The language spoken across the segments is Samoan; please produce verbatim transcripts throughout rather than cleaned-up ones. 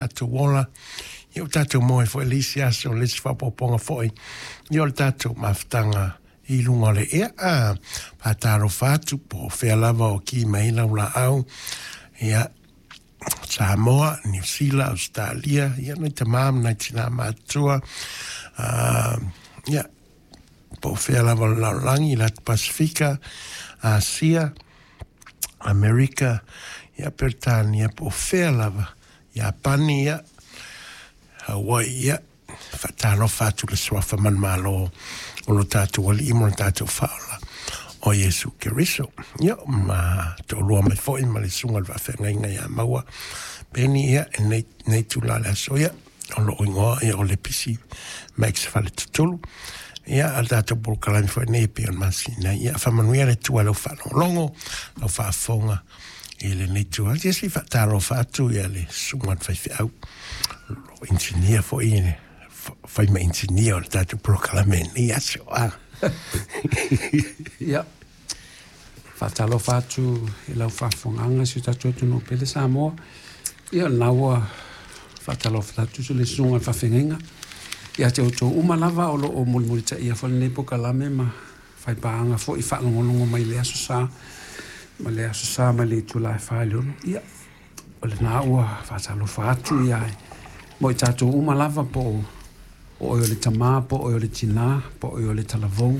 Tatou ola, ia ua tatou maua ai foi le isi aso, le isi faaopoopoga foi, ia o le tatou mafutaga i luga o le ea. A faatalofa atu po o fea lava o ki mai lau laau, ia Samoa, Niu Sila, Ausetalia, ia nai tamā ma nai tinā matutua, uh, ia po o fea lava o le lalolagi, le atu Pasifika, Asia, Amerika, ia Peretania, po o fea lava, Iapani, ia Hawaii, ia faatalofa atu le suafa manumalo o lo tatou Alii ma lo tatou Faaola o Iesu Keriso. Ia ma toalua mai foi ma le susuga i le faafeagaiga ia Maua Peni, ia e nei, nei tula le aso, ia o loo igoa ia o Lepisi Max Faletutulu. Ia a le tatou polokalame foi nei e pei ona masina, ia faamanuia le Atua i lau faalogologo, lau faafofoga i lenei itula. Ia se i faatalofa atu ia le susuga i le faifeau, o inisinia foi, fai ma inisinia o le tatou polokalame i lenei aso. Ah. Ia, faatalofa atu i lau faafofogaaga si o tatou atunuu pele Samoa. Ia, o lena ua faatalofa atu le susuga i le faafeagaiga. Ia te outou uma lava o lo o mulimulitaia foi lenei polokalame ma faipaaga foi faalogologo mai le aso Sa ma le aso Sa mai le itula e fa i le ono. Ia, o lena ua faatalofa atu ia mo i tatou uma lava po o o oe o le tamā, po o oe o le tinā, po o oe o le talavou,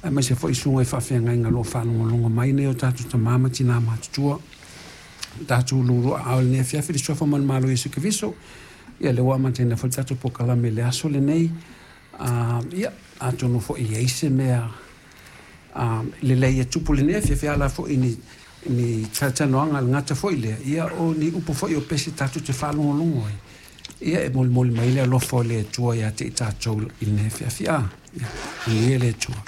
aemaise foi susuga i faafeagaiga o lo o faalogologo mai nei o tatou tamā ma tinā matutua. Tatou luluaaao i lenei afiafi i le suafa manumalo o Iesu Keriso. Ia lea ua amataina foi le tatou polokalame i le aso lenei. Uh, ia, atonu foi e i ai se mea uh, lelei e tupu i lenei afiafi, ala foi ni ni talatalanoaga a le gata foi lea, ia o ni upu foi o pese tatou te faalogologo ai. Ia e molimoli mai le alofa o le Atua ia te i tatou i lenei afiafi. A, ia, manuia le Atua.